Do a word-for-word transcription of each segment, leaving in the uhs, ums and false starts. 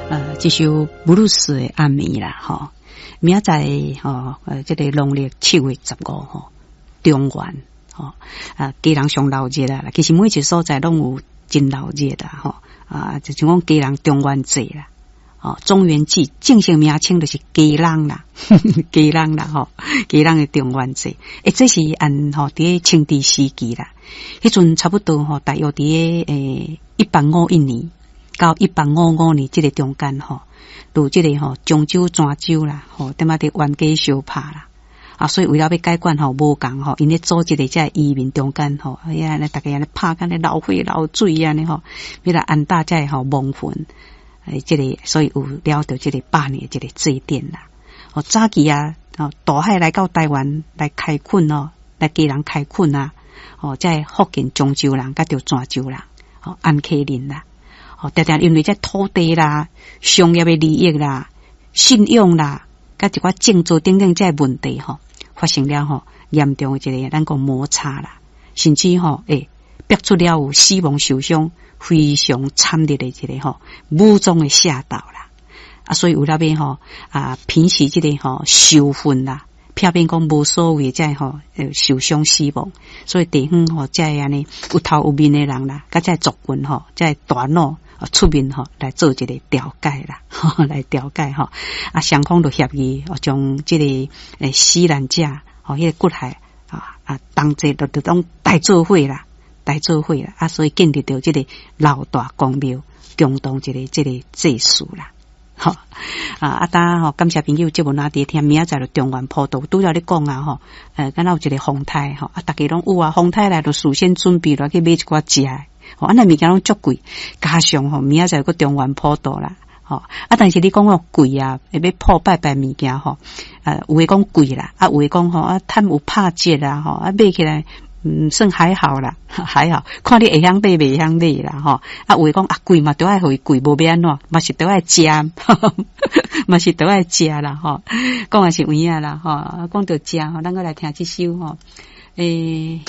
呃，這首布魯斯的暗暝啦，吼，明仔載吼，呃，這個農曆七月十五吼，中元吼，啊，基隆上鬧熱啦，其實每一個所在攏有真鬧熱啦，吼，啊，就像講基隆中元節啦，哦，中元節正式名稱就是基隆啦，基隆啦，吼，基隆的中元節，欸，這是按吼佇咧清治時期啦，彼陣差不多吼，大約佇咧欸一八五一年到一八五五年這個中間吼，有這個吼漳州、泉州啦，吼，踮仔佇冤家相拍啦，啊，所以為了欲解決吼無仝吼，𪜶咧組織的這個移民中間吼，哎呀，逐家按呢拍甲按呢流血流水按呢吼，欲來安搭這個吼亡魂，欸，這個所以有了著這個百年的這個祭典啦。哦，早期啊，哦，渡海來到台灣來開墾哦，來基隆開墾啊，哦，這個福建漳州人佮著泉州人，哦，安溪人啦，哦，常常因為這土地啦、商業的利益啦、信仰啦，佮一寡政治等等這個問題吼，發生了吼嚴重的一個咱講摩擦啦，甚至吼，欸，逼出了有死亡受傷非常慘烈的一個吼武裝的械鬥啦。啊，所以為了欲吼啊，平息這個吼仇恨啦，避免講無所謂這吼受傷死亡，所以地方吼這個按呢有頭有面的人啦，佮這個族群吼，這個大佬出面吼來做一個調解啦，來調解吼，啊，雙方就協議，將這個欸死難者吼，彼個骨骸啊啊同齊就就攏帶做伙啦，帶做伙啦，啊，所以建立著這個老大公廟，共同一個這個祭祀啦。吼啊！啊，當吼，感謝朋友節目哪佇聽，明仔載就中元普渡，拄才咧講啊吼，呃，敢若有一個風颱吼，啊，逐家攏有啊，風颱來就事先準備來去買一寡食的，吼，啊，若物件攏足貴，加上吼，明仔載閣中元普渡啦，吼，啊，但是你講哦貴啊，欲普拜拜物件吼，啊，有的講貴啦，啊，有的講吼啊，趁有拍折啦，吼，啊，買起來。嗯，算還好啦，還好，看你會曉買袂曉買啦，吼。啊，有的講啊貴嘛，著愛予伊貴，無欲按怎，嘛是著愛食，嘛是著愛食啦，吼。講的是有影啦，吼。講著食吼，咱閣來聽這首吼。欸，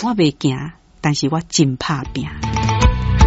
我袂驚，但是我真拍拚。